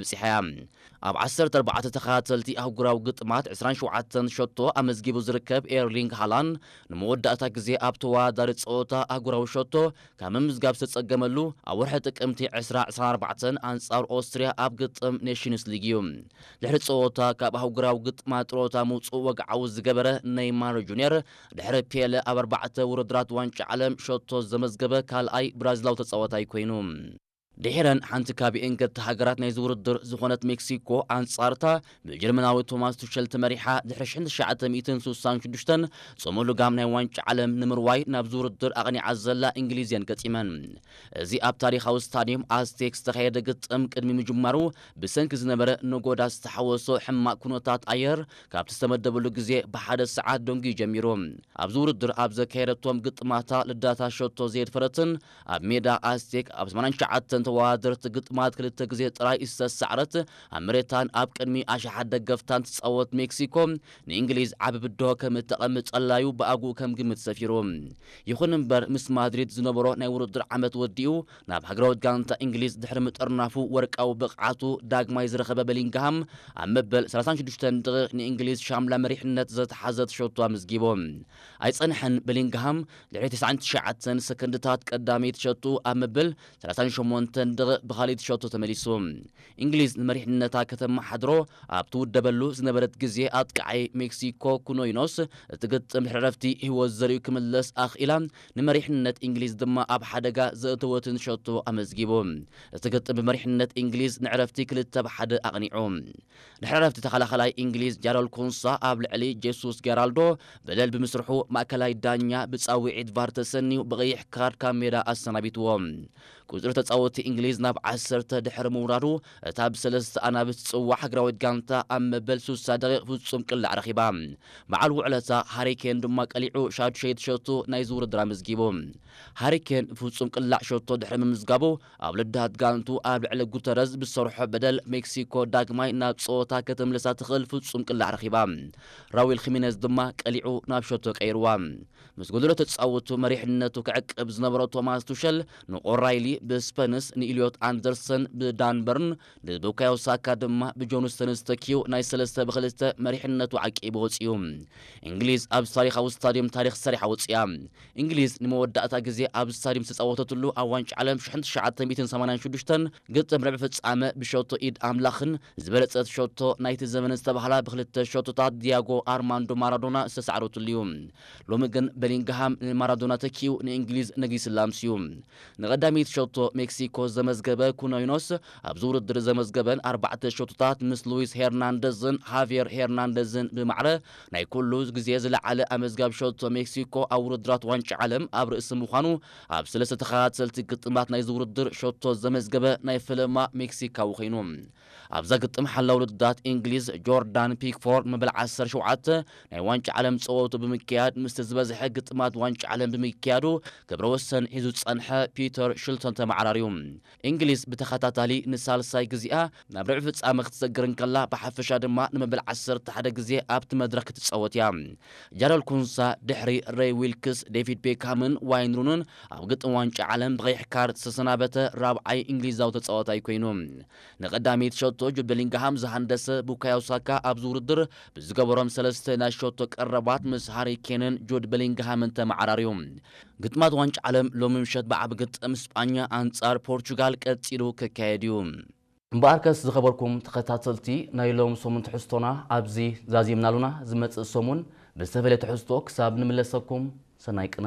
በጺሓ እያ። ኣብ ዓሰርተ ኣርባዕተ ተኸታተልቲ ኣህጉራዊ ግጥማት ዕስራን ሸውዓተን ሸቶ ኣመዝጊቡ ዝርከብ ኤርሊንግ ሃላንድ፣ ንመወዳእታ ግዜ ኣብ ተወዳዳሪ ጸወታ ኣህጉራዊ ሸቶ ካብ ምምዝጋብ ዝተጸገመሉ፣ ኣብ ወርሒ ጥቅምቲ ዕስራ ዕስራን ኣርባዕተን ኣንጻር ኦስትርያ ኣብ ግጥም ኔሽንስ ሊግ እዩ። ድሕሪ ጸወታ ካብ ኣህጉራዊ ግጥማት ጥሮታ ምውጽኡ ወግዓዊ ዝገበረ ኔይማር ጁንየር፣ ድሕሪ ፔለ ኣብ ኣርባዕተ ውድድራት ዋንጫ ዓለም ሸቶ ዘመዝገበ ካልኣይ ብራዚላዊ ተጻዋታይ ኮይኑ። ድሒረን ሓንቲ ካብኤን ገተ ሃገራት ናይዚ ውድድር ዝኾነት ሜክሲኮ፣ ኣንጻርታ ብጀርመናዊ ቶማስ ቱሸል ተመሪሓ፣ ድሕሪ ሽሕን ትሽዓተ ሚእትን ስሳን ሽዱሽተን ጽሙእ ልጋም ናይ ዋንጫ ዓለም ንምርዋይ ናብዚ ውድድር ኣቕኒዓ ዘላ እንግሊዝ እየን ገጢመን። እዚ ኣብ ታሪኻዊ ስታድዮም ኣዝቴክ ዝተኻየደ ግጥም ቅድሚ ምጅማሩ፣ ብሰንኪ ዝነበረ ነጎዳ ዝተሓወሶ ሕማቕ ኩነታት ኣየር፣ ካብቲ ዝተመደበሉ ግዜ ብሓደ ሰዓት ደንጉዩ ጀሚሩ። ኣብዚ ውድድር ኣብ ዘካየደቶም ግጥማታ ልዳታ ሸቶ ዘየድፈረትን ኣብ ሜዳ ኣስቴክ ኣብ ሰማንያን ትሽዓተን ተወዳደርቲ ግጥማት ክልተ ግዜ ጥራይ ዝተሳዕረት፣ ኣብ መሬታን ኣብ ቅድሚ ኣሽሓት ደገፍታን ትጻወት ሜክሲኮ፣ ንእንግሊዝ ዓቢ ብድሆ ከም እተቐምጠላዩ ብኣግኡ ከም ግምት ሰፊሩ። ይኹን እምበር፣ ምስ ማድሪድ ዝነበሮ ናይ ውድድር ዓመት ወዲኡ፣ ናብ ሃገራዊት ጋንታ እንግሊዝ ድሕሪ ምጥርናፉ፣ ወርቃዊ ብቕዓቱ ዳግማይ ዝረኸበ በሊንግሃም፣ ኣብ መበል ሰላሳን ሽዱሽተን ደቂቕ ንእንግሊዝ ሻምላ መሪሕነት ዘተሓዘት ሸቶ ኣመዝጊቡ። ኣይጸንሐን፣ በሊንግሃም ድሕሪ ተስዓን ትሽዓተን ሰከንድታት ቀዳመይቲ ሸቶ ኣብ መበል ሰላሳን ሸሞንተን ደቂቕ ብኻልኣይቲ ሸቶ ተመሊሱ። እንግሊዝ ንመሪሕነታ ከተመሓድሮ ኣብ ትውደበሉ ዝነበረት ግዜ፣ ኣጥቃዓይ ሜክሲኮ ኩኖይኖስ፣ እቲ ግጥም ድሕሪ ዕረፍቲ ህይወት ዘርእዩ ክምለስ ኣኽኢላ፣ ንመሪሕነት እንግሊዝ ድማ ኣብ ሓደጋ ዘእተወትን ሸቶ ኣመዝጊቡ። እቲ ግጥም ብመሪሕነት እንግሊዝ ንዕረፍቲ ክልተ ብ ሓደ ኣቕኒዑ። ድሕሪ ዕረፍቲ፣ ተኸላኻላይ እንግሊዝ ጃረል ኮንሳ ኣብ ልዕሊ ጄሱስ ጌራልዶ በደል ብምስርሑ፣ ማእከላይ ዳኛ ብጻውዒት ቫር ተሰንዩ ብቐይሕ ካርድ ካብ ሜዳ ኣሰናቢትዎ። ቁጽሪ ተጻወትቲ እንግሊዝ ናብ ዓሰርተ ድሕሪ ምውራዱ፣ እታ ብሰለስተ ኣናብስ ትጽዋዕ ሃገራዊት ጋንታ ኣብ መበል ስሳ ደቂቕ ፍጹም ቅላዕ ረኺባ። በዓል ውዕለታ ሃሪ ኬን ድማ ቀሊዑ ሻዱሸይቲ ሸቶ ናይዚ ውድድር ኣመዝጊቡ። ሃሪ ኬን ፍጹም ቅላዕ ሸቶ ድሕሪ ምምዝጋቡ፣ ኣብ ልዳት ጋንቱ ኣብ ልዕሊ ጉተረዝ ብዝሰርሖ በደል፣ ሜክሲኮ ዳግማይ ናብ ጸወታ ከተምልሳ ትኽእል ፍጹም ቅላዕ ረኺባ። ራዊል ኺሜነዝ ድማ ቀሊዑ ናብ ሸቶ ቀይርዋ። ምስ ጎደሎ ተጻወቱ መሪሕነቱ ክዕቅብ ዝነበሮ ቶማስ ቱሸል፣ ንኦራይሊ ብስፐንስ፣ ንኢልዮት ኣንደርሰን ብዳንበርን፣ ንቡካዮ ሳካ ድማ ብጆን ስተንስ ተኪኡ፣ ናይ ሰለስተ ብክልተ መሪሕነቱ ዓቂቡ ወጺኡ። እንግሊዝ ኣብ ታሪኻዊ ስታድዮም ታሪኽ ሰሪሓ ወጺኣ። እንግሊዝ ንመወዳእታ ግዜ ኣብ ስታድዮም ዝተጻወተትሉ ኣብ ዋንጫ ዓለም ሽሕን ትሽዓተ ሚእትን ሰማንያን ሽዱሽተን ግጥም ርብዒ ፍጻመ ብሸቶ ኢድ ኣምላኽን ዝበለጸት ሸቶ ናይቲ ዘመን ዝተባህላ ብክልተ ሸቶታት ዲያጎ ኣርማንዶ ማራዶና ዝተሳዕረትሉ እዩ። ሎሚ ግን በሊንግሃም ንማራዶና ተኪኡ ንእንግሊዝ ነጊስላ ኣምስዩ። ንቐዳመይቲ ሸቶ ሜክሲኮ ዘመዝገበ ኩኖይኖስ፣ ኣብዚ ውድድር ዘመዝገበን ኣርባዕተ ሸቶታት ምስ ሉዊስ ሄርናንደዝን ሃቪየር ሄርናንደዝን ብማዕረ ናይ ኩሉ ግዜ ዝለዓለ ኣመዝጋቢ ሸቶ ሜክሲኮ ኣብ ውድድራት ዋንጫ ዓለም ኣብ ርእሲ ምዃኑ፣ ኣብ ሰለስተ ተኸታተልቲ ግጥማት ናይዚ ውድድር ሸቶ ዘመዝገበ ናይ ፈለማ ሜክሲካዊ ኮይኑ። ኣብዛ ግጥም ሓላው ልዳት እንግሊዝ ጆርዳን ፒክፎርድ መበል ዓሰርተ ሸውዓተ ናይ ዋንጫ ዓለም ጸወቱ ብምክያድ፣ ምስቲ ዝበዝሐ ግጥማት ዋንጫ ዓለም ብምክያዱ፣ ክብረ ወሰን ሒዙ ዝጸንሐ ፒተር ሽልተን ተመዓራርዩ። እንግሊዝ ብተኸታታሊ ንሳልሳይ ግዜኣ ናብ ርብዒ ፍጻመ ክትሰግር እንከላ፣ ብሓፈሻ ድማ ንመበል ዓሰርተ ሓደ ግዜ ኣብቲ መድረኽ ክትጻወት እያ። ጃረል ኩንሳ ድሕሪ ሬይ ዊልክስ፣ ዴቪድ ቤክሃምን ዋይን ሩንን ኣብ ግጥም ዋንጫ ዓለም ብቐይሕ ካርድ ዝተሰናበተ ራብዓይ እንግሊዛዊ ተጻዋታይ ኮይኑ። ንቐዳመይቲ ሸቶ ጁድ ቤሊንግሃም ዝሃንደሰ ቡካዮ ሳካ ኣብዚ ውድድር ብዝገበሮም ሰለስተ ናይ ሸቶ ቀረባት ምስ ሃሪ ኬንን ጁድ ቤሊንግሃምን ተመዓራርዩ። ግጥማት ዋንጫ ዓለም ሎሚ ምሸት ብዓቢ ግጥም ስጳኛ ኣንጻር ፖርቹጋል ቀጺሉ ክካየድ እዩ። እምበኣርከስ ዝኸበርኩም ተኸታተልቲ ናይ ሎም ሰሙን ትሕዝቶና ኣብዚ ዛዚምናሉና። ዝመጽእ ሰሙን ብዝተፈለየ ትሕዝቶ ክሳብ ንምለሰኩም ሰናይ ቅነ።